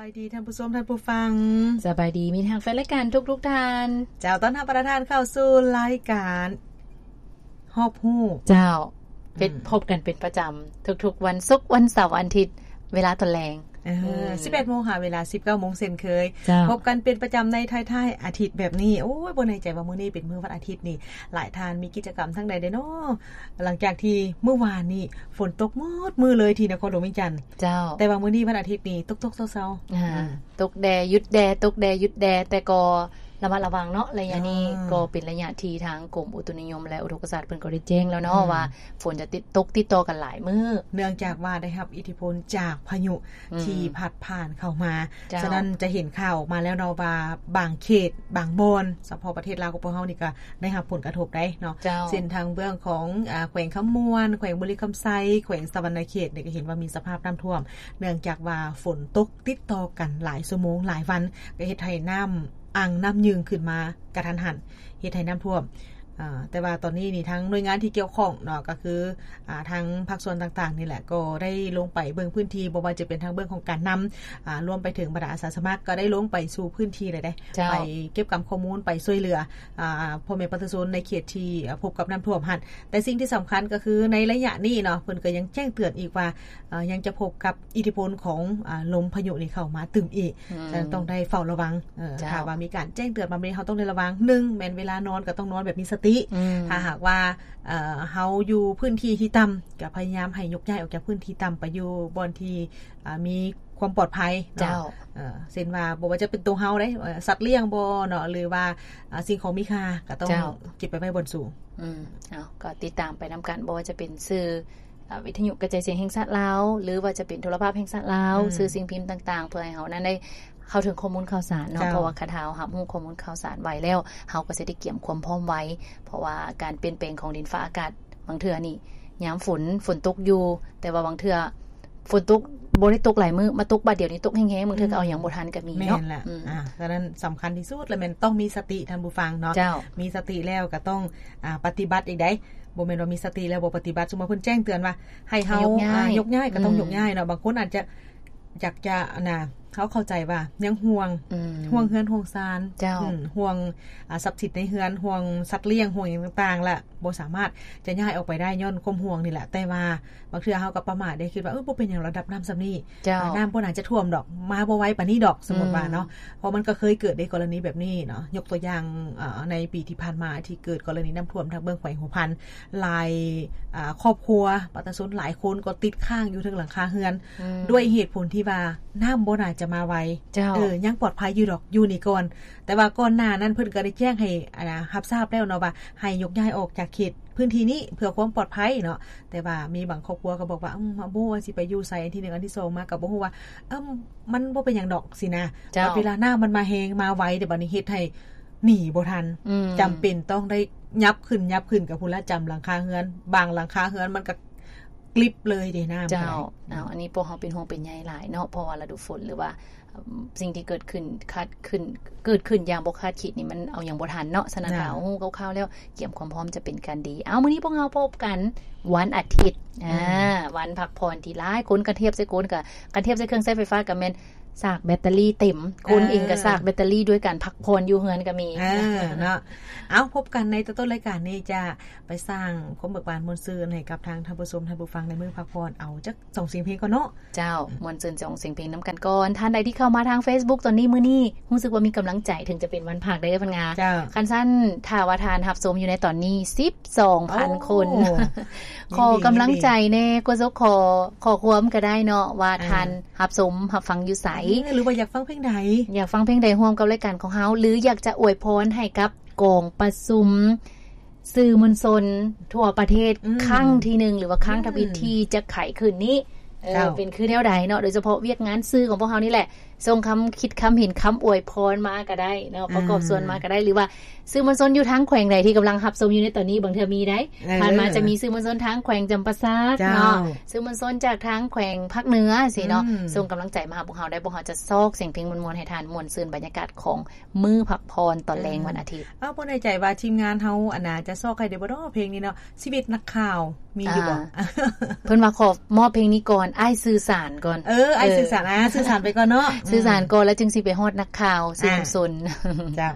ສະບາຍດີທ່ານຜູ້ຊົມ ທ່ານຜູ້ຟັງ. ສະບາຍດີມິດຮັກແຟນລາຍການທຸກໆທ່ານ. ເຈົ້າ, ຕ້ອນຮັບບັນດາທ່ານເຂົ້າສູ່ລາຍການຮອບຮູ້. ເຈົ້າ, ເປັນ ອືມ ພົບກັນເປັນປະຈຳທຸກໆວັນສຸກ, ວັນເສົາ, ວັນອາທິດ ເວລາຕອນແລງ. ເອີ ອືມ ສິບເອັດໂມງຫາເວລາສິບເກົ້າໂມງເຊັ່ນເຄີຍ. ເຈົ້າ, ພົບກັນເປັນປະຈຳໃນທ້າຍໆອາທິດແບບນີ້. ໂອ້ຍ ບໍ່ແນ່ໃຈວ່າມື້ນີ້ເປັນມື້ວັນອາທິດນີ້ ຫຼາຍທ່ານມີກິດຈະກຳທາງໃດແດ່ເນາະ? ຫຼັງຈາກທີ່ມື້ວານນີ້ຝົນຕົກໝົດມື້ເລີຍທີ່ນະຄອນຫຼວງວຽງຈັນ. ເຈົ້າ, ແຕ່ວ່າມື້ນີ້ວັນອາທິດນີ້ຕົກໆເຊົາໆ. ອ່າ ອືມ ຕົກແດ່ຢຸດແດ່ ຕົກແດ່ຢຸດແດ່ ແຕ່ກໍລະມັດລະວັງເນາະ. ໄລຍະນີ້ ອ່າ ກໍເປັນໄລຍະທີ່ທາງກົມອຸຕຸນິຍົມ ແລະ ອຸທົກກະສາດເພິ່ນກໍໄດ້ແຈ້ງແລ້ວເນາະ ອືມ ວ່າຝົນຈະຕິດ ຕົກຕິດຕໍ່ກັນຫຼາຍມື້ ເນື່ອງຈາກວ່າໄດ້ຮັບອິດທິພົນຈາກພາຍຸ ອືມ ທີ່ພັດຜ່ານເຂົ້າມາ. ເຈົ້າ, ສະນັ້ນຈະເຫັນຂ່າວອອກມາແລ້ວເນາະວ່າບາງເຂດ ບາງບ່ອນ ສະເພາະປະເທດລາວຂອງພວກເຮົານີ້ກໍໄດ້ຮັບຜົນກະທົບໄດ໋ເນາະ. ເຈົ້າ, ເຊັ່ນທາງເບື້ອງຂອງ ອາ ແຂວງຄຳມ່ວນ, ແຂວງບໍລິຄຳໄຊ, ແຂວງສະຫວັນນະເຂດນີ້ກໍເຫັນວ່າມີສະພາບນ້ຳຖ້ວມ ເນື່ອງຈາກວ່າຝົນຕົກຕິດຕໍ່ກັນຫຼາຍຊົ່ວໂມງຫຼາຍວັນ ກໍເຮັດໃຫ້ນ້ຳອັ່ງນ້ຳຍືງຂຶ້ນມາກະທັນຫັນ ເຮັດໃຫ້ນ້ຳຖ້ວມ. ອາ ແຕ່ວ່າຕອນນີ້ນີ້ທາງໜ່ວຍງານທີ່ກ່ຽວຂ້ອງເນາະ ກໍຄື ອາ ທາງພາກສ່ວນຕ່າງໆນີ້ແຫຼະ ກໍໄດ້ລົງໄປເບິ່ງພື້ນທີ່ ບໍ່ວ່າຈະເປັນທາງເບື້ອງຂອງການນຳ ອາ ລວມໄປເຖິງບັນດາອາສາສະໝັກ ກໍໄດ້ລົງໄປສູ່ພື້ນທີ່ແລ້ວເດ້. ເຈົ້າ, ໄປເກັບກຳຂໍ້ມູນ ໄປຊ່ວຍເຫຼືອ ອາ ພໍ່ແມ່ປະຊາຊົນໃນເຂດທີ່ ອາ ພົບກັບນ້ຳຖ້ວມຫັ້ນ. ແຕ່ສິ່ງທີ່ສຳຄັນກໍຄືໃນໄລຍະນີ້ເນາະ ເພິ່ນກໍຍັງແຈ້ງເຕືອນອີກວ່າ ເອີ ຍັງຈະພົບກັບອິດທິພົນຂອງ ອາ ລົມພາຍຸນີ້ເຂົ້າມາຕື່ມອີກ. ອືມ ສະນັ້ນຕ້ອງໄດ້ເຝົ້າລະວັງ. ເອີ ເຈົ້າ, ຖ້າວ່າມີການແຈ້ງເຕືອນມາແບບນີ້ ເຮົາຕ້ອງໄດ້ລະວັງ. ໜຶ່ງ ແມ່ນເວລານອນກໍຕ້ອງນອນແບບມີສະຕິ. ອືມ ຖ້າຫາກວ່າ ເອີ ເຮົາຢູ່ພື້ນທີ່ທີ່ຕ່ຳ ກໍພະຍາຍາມໃຫ້ຍົກຍ້າຍອອກຈາກພື້ນທີ່ຕ່ຳໄປຢູ່ບ່ອນທີ່ ອາ ມີຄວາມປອດໄພເນາະ. ເຈົ້າ, ເອີ ເຊັ່ນວ່າບໍ່ວ່າຈະເປັນໂຕເຮົາເດ້ ເອີ ສັດລ້ຽງບໍເນາະ ຫຼືວ່າ ອາ ສິ່ງຂອງມີຄ່າ ກໍຕ້ອງ ເຈົ້າ ເກັບໄປໄວ້ບ່ອນສູງ. ອືມ ເອົາ ກໍຕິດຕາມໄປນຳກັນ ບໍ່ວ່າຈະເປັນສື່ ອາ ວິທະຍຸກະຈາຍສຽງແຫ່ງຊາດລາວ ຫຼືວ່າຈະເປັນໂທລະພາບແຫ່ງຊາດລາວ, ອືມ ສື່ສິ່ງພິມຕ່າງໆ ເພື່ອໃຫ້ເຮົານັ້ນໄດ້ເຂົ້າເຖິງຂໍ້ມູນຂ່າວສານເນາະ. ເຈົ້າ, ເພາະວ່າຄັນເຮົາຮັບຮູ້ຂໍ້ມູນຂ່າວສານໄວແລ້ວ ເຮົາກໍຊິໄດ້ກຽມຄວາມພ້ອມໄວ ເພາະວ່າການປ່ຽນແປງຂອງດິນຟ້າອາກາດ ບາງເທື່ອນີ້ຍາມຝົນ ຝົນຕົກຢູ່ ແຕ່ວ່າບາງເທື່ອຝົນຕົກບໍ່ໄດ້ຕົກຫຼາຍມື້ ມາຕົກບາດດຽວນີ້ຕົກແຮງໆ ບາງເທື່ອກໍເອົາຫຍັງບໍ່ທັນກໍມີເນາະ. ແມ່ນລະ. ອືມ ອາ ສະນັ້ນສຳຄັນທີ່ສຸດລະແມ່ນຕ້ອງມີສະຕິທ່ານຜູ້ຟັງເນາະ. ເຈົ້າ, ມີສະຕິແລ້ວກໍຕ້ອງ ອາ ປະຕິບັດອີກໃດ໋. ບໍ່ແມ່ນວ່າມີສະຕິແລ້ວບໍ່ປະຕິບັດ. ສົມມຸດເພິ່ນແຈ້ງເຕືອນວ່າໃຫ້ເຮົາ ໃຫ້ຍົກຍ້າຍ ອາ ຍົກຍ້າຍ ກໍຕ້ອງ ອືມ ຍົກຍ້າຍເນາະ. ບາງຄົນອາດຈະ ຢາກຈະ ອັນນ່າ ເຮົາເຂົ້າໃຈວ່າຍັງຫ່ວງ ອືມ ຫ່ວງເຮືອນຫ່ວງຊານ. ເຈົ້າ, ອືມ ຫ່ວງ ອາ ຊັບສິນໃນເຮືອນ ຫ່ວງສັດລ້ຽງ ຫ່ວງຫຍັງຕ່າງໆ ລະບໍ່ສາມາດຈະຍ້າຍອອກໄປໄດ້ຍ້ອນຄວາມຫ່ວງນີ້ແຫຼະ. ແຕ່ວ່າບາງເທື່ອເຮົາກໍປະໝາດເດ້ ຄິດວ່າ ເອີ ບໍ່ເປັນຫຍັງ ລະດັບນ້ຳສ່ຳນີ້. ເຈົ້າ, ອາ ນ້ຳບໍ່ໜ້າຈະຖ້ວມດອກ ມາບໍ່ໄວປານນີ້ດອກ ສົມມຸດວ່າເນາະ. ອືມ ເພາະມັນກໍເຄີຍເກີດໃນກໍລະນີແບບນີ້ເນາະ. ຍົກຕົວຢ່າງ ເອີ ໃນປີທີ່ຜ່ານມາທີ່ເກີດກໍລະນີນ້ຳຖ້ວມທາງເບື້ອງແຂວງຫົວພັນ ຫຼາຍ ອາ ຄອບຄົວ ປະຊາຊົນຫຼາຍຄົນກໍຕິດຄ້າງຢູ່ເທິງຫຼັງຄາເຮືອນ ອືມ ດ້ວຍເຫດຜົນທີ່ວ່ານ້ຳບໍ່ໜ້າຈະມາໄວ. ເຈົ້າ, ເອີ ຍັງປອດໄພຢູ່ດອກ ຢູ່ນີ້ກ່ອນ. ແຕ່ວ່າກ່ອນໜ້ານັ້ນເພິ່ນກໍໄດ້ແຈ້ງໃຫ້ ອັນນ່າ ຮັບຊາບແລ້ວເນາະ ວ່າໃຫ້ຍົກຍ້າຍອອກຈາກເຂດພື້ນທີ່ນີ້ເພື່ອຄວາມປອດໄພເນາະ. ແຕ່ວ່າມີບາງຄອບຄົວກໍບອກວ່າ ອືມ ບໍ່ຮູ້ວ່າຊິໄປຢູ່ໃສ ອັນທີໜຶ່ງ ອັນທີສອງມາກໍບໍ່ຮູ້ວ່າ ເອີ ມັນບໍ່ເປັນຫຍັງດອກຊີ້ນະ. ເຈົ້າ, ບັດເວລານ້ຳມັນມາແຮງມາໄວ ແຕ່ບັດນີ້ເຮັດໃຫ້ ໜີບໍ່ທັນ ອືມ ຈຳເປັນຕ້ອງໄດ້ຫຍັບຂຶ້ນ ຫຍັບຂຶ້ນ ກໍພຸ້ນລະ ຈຳຫຼັງຄາເຮືອນ ບາງຫຼັງຄາເຮືອນມັນກໍກລິບເລີຍເດ້ນ້ຳ. ເຈົ້າ, ກໍໄດ້ ເອົາ ອັນນີ້ພວກເຮົາເປັນຫ່ວງເປັນໃຍຫຼາຍເນາະ ເພາະວ່າລະດູຝົນ ຫຼືວ່າ ເອີ່ມ ສິ່ງທີ່ເກີດຂຶ້ນ ຄາດຂຶ້ນ ເກີດຂຶ້ນຢ່າງບໍ່ຄາດຄິດນີ້ ມັນເອົາຫຍັງບໍ່ທັນເນາະ. ສະນັ້ນ ເຈົ້າ ຖ້າເຮົາຮູ້ຄ່າວໆແລ້ວ ກຽມຄວາມພ້ອມຈະເປັນການດີ. ເອົາ ມື້ນີ້ພວກເຮົາພົບກັນວັນອາທິດ ອືມ ອາ ວັນພັກຜ່ອນທີ່ຫຼາຍຄົນ ຄັນທຽບໃສ່ຄົນ ກໍ ຄັນທຽບໃສ່ເຄື່ອງໃຊ້ໄຟຟ້າ ກໍແມ່ນ ສາກແບັດເຕີຣີເຕັມ ຄົນເອງກໍ ເອີ ສາກແບັດເຕີຣີດ້ວຍການພັກຜ່ອນຢູ່ເຮືອນກໍມີ ເອີ ເນາະ. ເອົາ ພົບກັນໃນຕົ້ນໆລາຍການນີ້ ຈະໄປສ້າງຄວາມເບີກບານມ່ວນຊື່ນໃຫ້ກັບທາງທ່ານຜູ້ຊົມ ທ່ານຜູ້ຟັງໃນມື້ພັກຜ່ອນ. ເອົາຈັກສອງສຽງເພງກ່ອນເນາະ. ເຈົ້າ, ມ່ວນຊື່ນສອງສຽງເພງນຳກັນກ່ອນ. ທ່ານໃດທີ່ເຂົ້າມາທາງເຟສບຸກຕອນນີ້ ມື້ນີ້ຮູ້ສຶກວ່າມີກຳລັງໃຈ ເຖິງຈະເປັນວັນພັກເດີ ເພິ່ນວ່າ. ເຈົ້າ, ຄັນຊັ້ນ ຖ້າວ່າທ່ານຮັບຊົມຢູ່ໃນຕອນນີ້ ສິບສອງພັນຄົນ ໂອ້ ຂໍກຳລັງໃຈແດ່ ກວດສົກ ຂໍ ຂໍຄວາມກໍໄດ້ເນາະ ວ່າ ອ່າ ທ່ານ ຮັບຊົມຮັບຟັງຢູ່ໃສ ເອີ ຫຼືວ່າຢາກຟັງເພງໃດ ຢາກຟັງເພງໃດຮ່ວມກັບລາຍການຂອງເຮົາ ຫຼືຢາກຈະອວຍພອນໃຫ້ກັບກອງປະຊຸມສື່ມວນຊົນທົ່ວປະເທດ ອືມ ຄັ້ງທີໜຶ່ງ ຫຼືວ່າຄັ້ງທຳອິດ ອືມ ທີ່ຈະໄຂຂຶ້ນນີ້ ເອີ ເຈົ້າ ເປັນຄືແນວໃດເນາະ ໂດຍສະເພາະວຽກງານສື່ຂອງພວກເຮົານີ້ແຫຼະ ສົ່ງຄຳຄິດຄຳເຫັນຄຳອວຍພອນມາກໍໄດ້ເນາະ ອືມ ປະກອບສ່ວນມາກໍໄດ້ ຫຼືວ່າສື່ມວນຊົນຢູ່ທາງແຂວງໃດທີ່ກຳລັງຮັບຊົມຢູ່ໃນຕອນນີ້ ບາງເທື່ອມີໄດ໋ ເອີ ຜ່ານມາຈະມີສື່ມວນຊົນທາງແຂວງຈຳປາສັກ ເຈົ້າ ເນາະ ສື່ມວນຊົນຈາກທາງແຂວງພາກເໜືອຊີ້ເນາະ ອືມ ສົ່ງກຳລັງໃຈມາຫາພວກເຮົາໄດ້ ພວກເຮົາຈະຊອກສຽງເພງມ່ວນໆໃຫ້ທ່ານ ມ່ວນຊື່ນບັນຍາກາດຂອງມື້ພັກຜ່ອນຕອນແລງ ເອີ ວັນອາທິດ. ເອົາ ບໍ່ແນ່ໃຈວ່າທີມງານເຮົາ ອັນນ່າ ຈະຊອກໃຫ້ໄດ້ບໍ່ເນາະ ເພງນີ້ເນາະ ຊີວິດນັກຂ່າວ ມີຢູ່ບໍ່? ອ່າ ເພິ່ນວ່າຂໍມອບເພງນີ້ກ່ອນ ອ້າຍສື່ສານກ່ອນ ເອີ ອ້າຍສື່ສານ ອ່າ ສື່ສານໄປກ່ອນເນາະ ອືມ ສື່ສານກ່ອນ ແລ້ວຈຶ່ງຊິໄປຮອດນັກຂ່າວສື່ມວນຊົນ ເຈົ້າ.